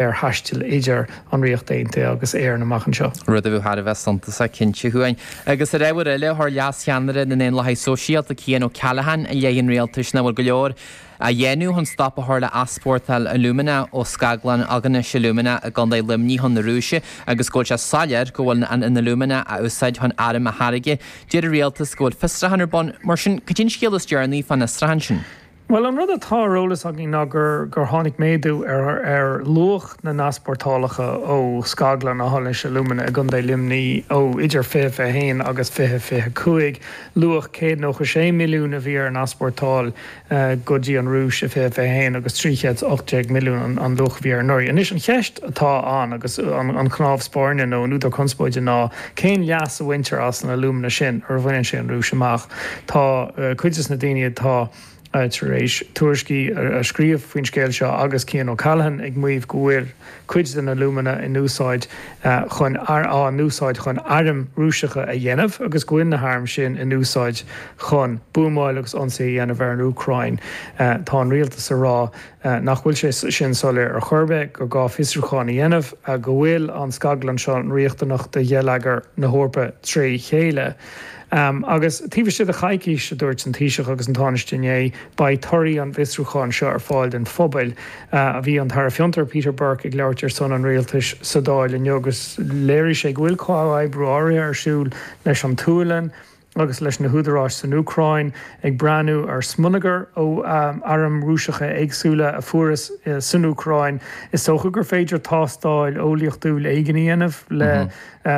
Ar thaisteal idir an Ríocht Aontaithe agus Éirinn amach anseo. Rud a bheadh thar a bheith suntasach cinnte, a Chuain. Agus ar ábhar eile, chuir Leas-Cheannaire na nDaonlathaithe Sóisialta, Cian O'Callaghan, i leith an rialtais nach bhfuil go leor á dhéanamh chun stop a chur le heaspórtáil alúmana ó scaglann Aughinish Alumina i gContae Luimnigh chun na Rúise agus go bhfuil sé soiléir go bhfuil an alúmana á úsáid chun airm a tháirgeadh. Deir an rialtas go bhfuil fiosrúchán ar bun. Mar sin, cad é an scéal is deireanaí fán fhiosrúchán sin? Bhuel, an rud atá ar eolas againn ná gur gur tháinig méadú ar ar luach na n-easpórtálacha ó scaglann Aughinish Alumina i gContae Luimnigh ó idir 2021 agus 2025. Luach 196 milliún a bhí ar an easpórtáil go dtí an Rúis i 2021 agus 318 milliún an luach a bhí air anuraidh. Anois, an cheist atá ann agus an chnámh spairne nó an údar conspóide ná cén leas a bhaintear as an alúmana sin nuair a bhaineann sé an Rúis amach? Tá cuid de na daoine atá tar éis tuairiscí a scríobh faoin scéal seo agus Cian O'Callaghan ag maíomh go bhfuil cuid den alúmana in úsáid chun á n-úsáid chun airm Rúiseacha a dhéanamh agus go bhfuil na hairm sin in úsáid chun buamáil agus ionsaí a dhéanamh ar an Úcráin. Tá an rialtas ag rá nach bhfuil sé sin soiléir ar chor ar bith, gur gá fiosrúchán a dhéanamh, go bhfuil an scaglann seo riachtanach do gheilleagar na hEorpa tré chéile. Agus taobh istigh de choicís, a dúirt an Taoiseach agus an Tánaiste inné, beidh torthaí an bhfiosrúcháin seo ar fáil don phobal. Bhí an tAire Fiontar, Peter Burke, ag labhairt ar son an Rialtais sa Dáil inniu agus léirigh sé go bhfuil comhoibriú áirithe ar siúl leis an tSualainn agus leis na húdaráis san Úcráin ag breathnú ar smionagar ó airm Rúiseacha éagsúla a fuarthas san Úcráin. Is dócha gur féidir tástáil eolaíochtúil éigin a dhéanamh le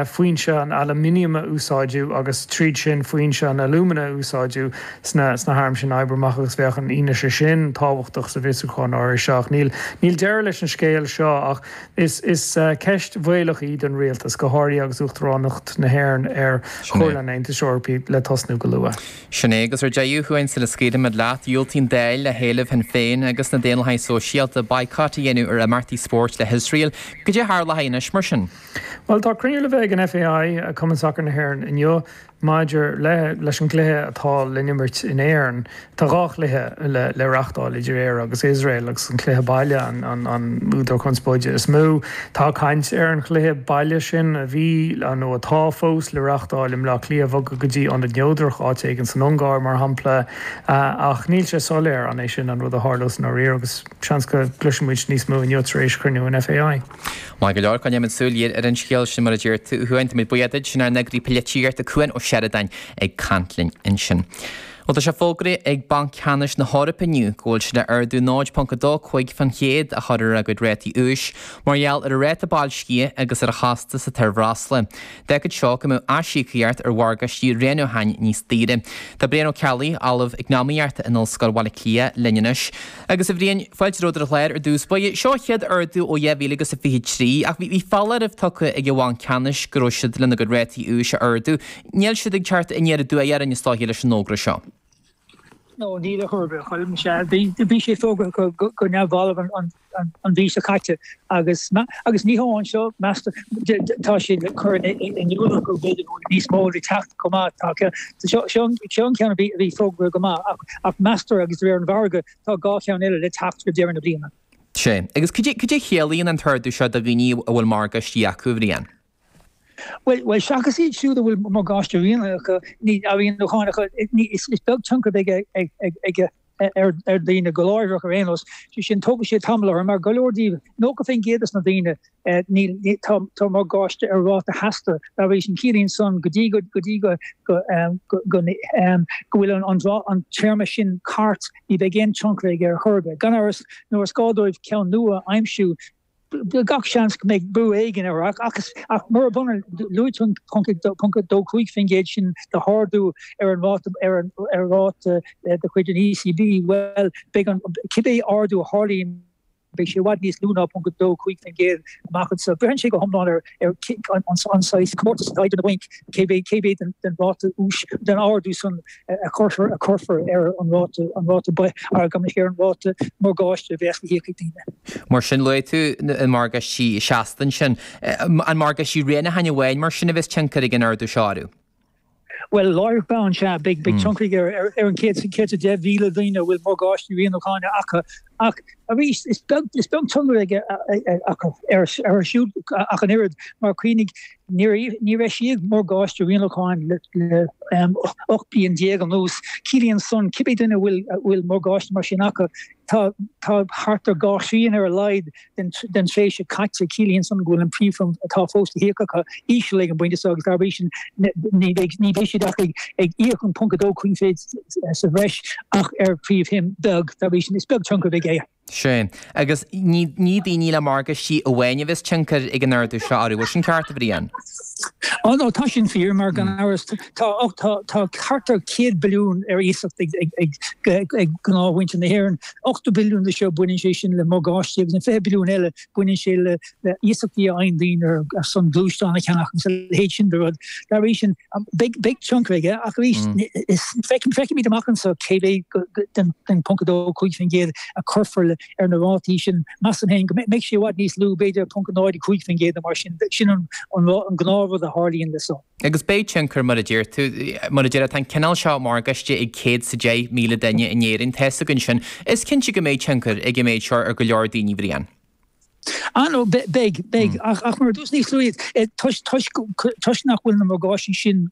foinse an aluminiam a úsáideadh agus tríd sin foinse an alúmana a úsáideadh sna sna hairm sin a oibriú amach agus bheadh an fhianaise sin tábhachtach sa bhfiosrúchán áirithe seo. Ach níl níl deireadh leis an scéal seo ach is is ceist bhaolach í don rialtas, go háirithe agus Uachtaránacht na hÉireann ar Chomhairle an Aontais Eorpaigh le tosnú go luath. Sin é, agus ar deireadh, a Chuain, sula scaoilfimid leat, dhiúltaigh an Dáil le héileamh Shinn Féin agus na Daonlathaithe Sóisialta baghcat a dhéanamh ar imeachtaí spóirt le hIosrael. Cad é a tharlóidh anois, mar sin? Bhuel, tá cruinniú le bheith ag an FAI, Cumann Sacair na hÉireann, inniu maidir le leis an gcluiche atá le n-imirt in Éirinn. Tá 2 chluiche le le reachtáil idir Éire agus Iosrael agus an cluiche baile an an údar conspóide is mó. Tá caint ar an chluiche baile sin a bhí, nó atá fós, le reachtáil i mBleá Cliath a bhogadh go dtí ionad neodrach, áit éigin san Ungáir mar shampla, ach níl sé soiléir an é sin an rud a tharlós i ndáiríre agus seans go gcloisfidh muid níos mó inniu tar éis chruinniú an FAI. Maith go leor, coinneoimid súil ghéar ar an scéal sin mar a deir tú, a Chuain. Táimid buíoch duit, sin ár n-eagraí polaitíochta Cuan Ó Seireadáin ag caint linn ansin. Bhuel, tá sé fógraithe ag Banc Ceannais na hEorpa inniu go bhfuil siad le ardú 0.25 fán chéad a chur ar a gcuid rátaí úis mar gheall ar an ráta boilscithe agus ar an chostas atá ar bhreosla. D'fhágfadh seo go mbeadh aisíocaíocht ar mhorgáistí rianúcháin níos daoire. Tá Brian Ó Ceallaigh, Ollamh Eacnamaíochta in Ollscoil Bhaile Átha Cliath, linn anois. Agus a Bhriain, fáilte romhat ar an chlár ar dtús báire. Seo an chéad ardú ó 2023 ach bhí foláireamh tugtha ag an Bhanc Ceannais go raibh siad lena gcuid rátaí úis a ardú. Níl siad ag teacht aniar aduaidh orainn is dóiche leis an fhógra seo. No, níl ar chor ar bith, a Choilm. Sea, bhí sé fógartha go neamhbhalbh an mhí seo caite agus agus ní hamháin seo, meastar, tá siad ag cur in iúl go b'fhéidir go bhfuil níos mó le teacht chomh maith. Tá, seo an ceann a bhí fógartha go maith ach meastar agus de réir an mhargaidh tá 2 cheann eile le teacht roimh deireadh na bliana. Sea, agus cad é cad é a chiallaíonn an t-ardú seo do dhaoine a bhfuil morgáistí acu, a Bhriain? Bhuel, seachas iad siúd a bhfuil morgáiste rianúcháin acu, is beag tionchar a bheidh aige ar dhaoine go láithreach ar aon nós. Sé sin, tógfaidh sé tamall orthu, mar go leor díobh, 90% des na daoine, níl, tá morgáiste ar ráta sheasta. Dá bhrí sin, ciallaíonn san go dtí go, go dtí go, go, go bhfuil an téarma sin thart, ní bheidh aon tionchar aige ar chor ar bith. Gan amhras, nuair is gá dóibh ceann nua a aimsiú, gach seans go mbeidh brú éigin air ach ach murab ionann, luaigh tú an 0.25% sin de ardú ar an ráta ar an ar ráta de chuid an ECB, bhuel beidh an cibé ardú a tharlaíonn beidh sé i bhfad níos lú ná 0.25% amach anseo. Braitheann sé go hiomlán ar ar an saghas comórtas atá idir na bainc cé mhéad den ráta úis den ardú san a chuirfear a cuirfear ar an ráta an ráta ar an ráta morgáiste a bheas le híoc ag daoine. Mar sin, luaigh tú na morgáistí seasta ansin. An morgáistí rianúcháin amháin mar sin a bheas tionchar ag an ardú seo orthu? Bhuel, láithreach bonn, sea, beidh tionchar aige ar an 110,000 daoine a bhfuil morgáistí rianúcháin acu. Ach arís, is beag is beag tionchar aige acu orthu siúd ach an oiread, mar cuimhnigh, níor níor eisíodh morgáiste rianúcháin le 18 bliain anuas. Ciallaíonn san, cibé duine a bhfuil a bhfuil morgáiste mar sin acu, tá tá thart ar 2 thrian ar a laghad den tréimhse caite. Ciallaíonn san go bhfuil an príomhshuim atá fós le híoc acu íseal ag an bpointe seo agus dá bhrí sin ní bheidh siad ach ag íoc an 0.25% sa bhreis ach ar phríomhshuim beag. Dá bhrí sin is beag tionchar a bheidh aige. Sea. Agus ní daoine le morgáistí amháin a bheas tionchar ag an ardú seo orthu. Bhfuil sin ceart, a Bhriain? Á no, tá sin fíor, mar gan amhras tá tá thart ar 100 billiún ar iasacht ag gnáthmhuintir na hÉireann. 80 billiún de seo, baineann sé sin le morgáistí agus an 20 billiún eile, baineann sé le iasachtaí a fhaigheann daoine ar son gluaisteán a cheannach agus a leithéid sin de rud. Dá bhrí sin, beidh tionchar aige ach arís, feicfimid amach anseo cé mhéad den 0.25% a cuirfear ar na rátaí sin. Measaim féin go mbeidh sé i bhfad níos lú, b'fhéidir 0.05% nó mar sin. Sin an gnáthrud a tharlaíonn leis seo. Agus beidh tionchar, mar a deir tú, mar a deir, tá an cineál seo morgáiste ag 110,000 duine in Éirinn, tá fhios againn sin. Is cinnte go mbeidh tionchar ag an méid seo ar go leor daoine, Bhriain. Ah no, beidh, beidh, ach mar a dúirt níos luaithe, toisc, toisc, toisc nach bhfuil na morgáistí sin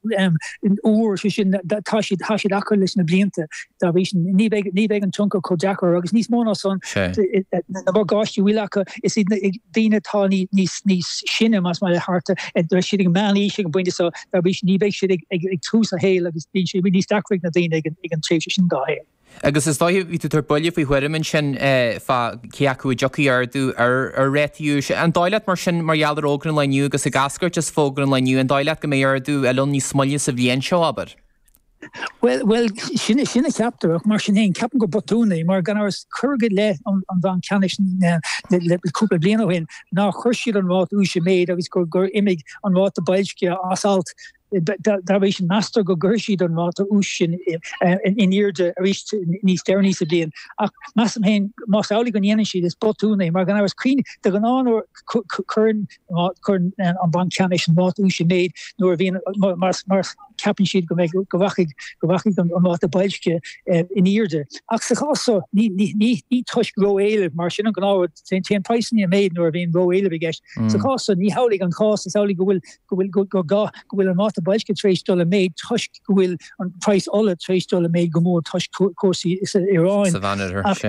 úr, sé sin, tá siad, tá siad acu leis na blianta, dá bhrí sin, ní bheidh, ní bheidh an tionchar chomh deacair agus níos mó ná san, na morgáistí a bhfuil acu, is iad na, daoine atá níos sine, más maith leat, thart ar, siad ag meánaois ag an bpointe seo, dá bhrí sin ní bheidh siad ag tús a shaoil agus bíonn sé níos deacra ag na daoine ag an tréimhse sin dá shaol. Agus is dóiche, bhí tú ag tabhairt buille faoi thuairim ansin fá cé acu a dtiocfaidh ardú ar ar rátaí úis. An dóigh leat mar sin, mar gheall ar fhógra an lae inniu agus ag eascairt as fógra an lae inniu, an dóigh leat go mbeidh ardú eile ann níos moille sa bhliain seo, abair? Bhuel, bhuel, sin, sin a cheaptar, ach mar sin féin, ceapaim gur botún é, mar gan amhras, cuireadh i leith an, an Bhanc Ceannais le, le cúpla bliain ó shin, nár chuir siad an ráta úis i méid agus gur, gur imigh an ráta boilscithe as alt. Dá bhrí sin, meastar go gcuirfidh siad an ráta úis sin in airde arís níos deireanaí sa bhliain. Ach measaim féin, más amhlaidh go ndéanann siad, is botún é, mar gan amhras, cuimhnigh, de ghnáth nuair a chuireann, cuireann an Banc Ceannais an ráta úis i méid nuair a bhíonn, mar ceapann siad go mbeidh, go rachaidh, go rachaidh an ráta boilscithe in airde. Ach sa chás seo, ní, ní, ní, ní toisc ró-éileamh, mar sin an gnáthrud, téann praghsanna i méid nuair a bhíonn ró-éileamh i gceist. Sa chás seo, ní hamhlaidh an cás, is amhlaidh go bhfuil, go bhfuil, go, go, go bhfuil an ráta boilscithe tar éis dul i méid toisc go bhfuil an praghas ola tar éis dul i méid go mór toisc cúrsaí sa Iaráin. Sa Mheánoirthear, Ach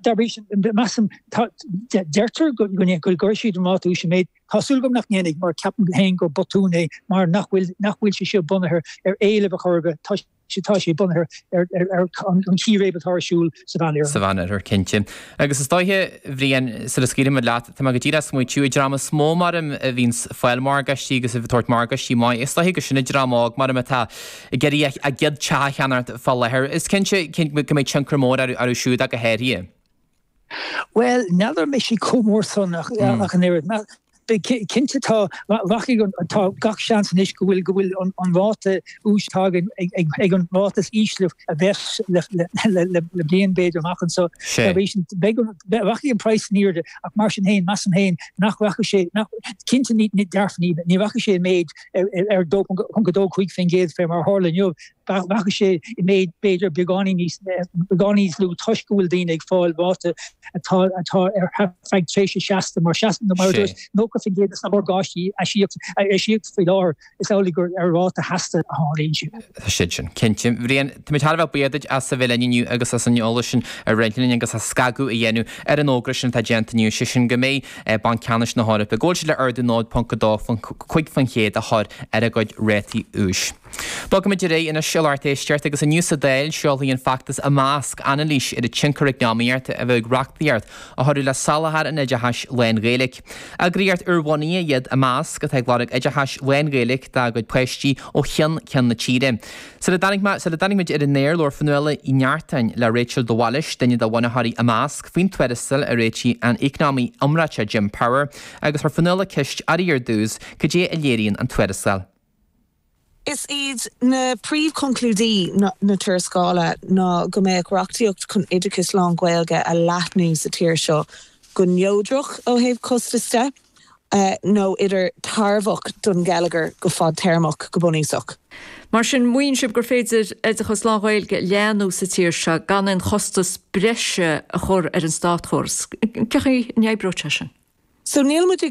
dá bhrí sin, measaim, tá, deirtear go, go, go gcuirfidh siad an ráta úis i méid. Tá súil agam nach ndéanfaidh, mar ceapaim féin gur botún é, mar nach bhfuil, nach bhfuil sé seo bunaithe ar éileamh a chor ar bith, tá sé, tá sé bunaithe ar, ar, ar an chíréib atá ar siúl sa Mheánoirthear. Sa Mheánoirthear, cinnte. Agus is dóiche, a Bhriain, sula scaoilfimid leat, tá mé go díreach ag smaoitiú, an dream is mó maram a bhíonns ag fáil morgáistí agus ag tabhairt morgáistí maith, is dóiche gur sin an dream óg maram atá ag iarraidh a gcéad teach a cheannacht fá láthair. Is cinnte go mbeidh tionchar mór orthu siúd ach go háirithe. Bhuel, n'fheadar an mbeidh sé chomh mór san ach an oiread. Cinnte tá, rachaidh an, tá gach seans anois go bhfuil, go bhfuil an ráta úis atá againn ag an ráta is ísle a bheas le bliain b'fhéidir amach anseo. Dá bhrí sin, beidh an, rachaidh an praghas in airde ach mar sin féin, measaim féin nach rachaidh sé, nach, cinnte ní, dearfa ní, ní rachaidh sé i méid ar 2.25% fé mar a tharla inniu. Rachaidh sé i méid b'fhéidir beagáinín níos beagáinín níos lú toisc go bhfuil daoine ag fáil ráta atá atá ar feadh tréimhse seasta mar seasta mar a dúirt 90% de na morgáistí a eisíodh faoi láthair is amhlaidh gur ar ráta sheasta a tharlaíonn siad. Tá siad sin, cinnte. Bhriain, táimid thar a bheith buíoch duit as a bheith linn inniu agus as an eolas sin a roinnt linn agus as scagadh a dhéanamh ar an fhógra sin atá déanta inniu, sé sin go mbeidh Banc Ceannais na hEorpa, go bhfuil siad le ardú 0.25% a chur ar a gcuid rátaí úis. Bogfaimid ar aghaidh anois a lucht éisteachta agus inniu sa Dáil seolfaidh an feachtas Imeasc anailís ar an tionchar eacnamaíochta a bheadh ag reachtaíocht a chuirfeadh le soláthar an oideachais lán-Ghaeilge. Eagraíocht úrbhunaithe iad Imeasc atá ag lorg oideachais lán-Ghaeilge dá gcuid páistí ó cheann ceann na tíre. Sula dtáinig mé, sula dtáinig muid ar an aer labhair Fionnuala Uí Neartáin le Rachel de Bhailís, duine de bhunaitheoirí Imeasc, faoin tuarascáil a réitigh an t-eacnamaí iomráiteach Jim Power agus chuir Fionnuala ceist uirthi ar dtús cad é a léiríonn an tuarascáil. Is iad na príomhchonclúidí na tuarascála ná go mbeadh reachtaíocht chun oideachas lán-Ghaeilge a leathnú sa tír seo go neodrach ó thaobh costas de. Nó idir tairbheach don gheilleagar go fadtéarmach, go bunúsach. Mar sin, maíonn sibh gur féidir oideachas lán-Ghaeilge a leathnú sa tír seo gan aon chostas breise a chur ar an státchóras. Cén chaoi a n-oibreoidh sé sin? So níl muid ag.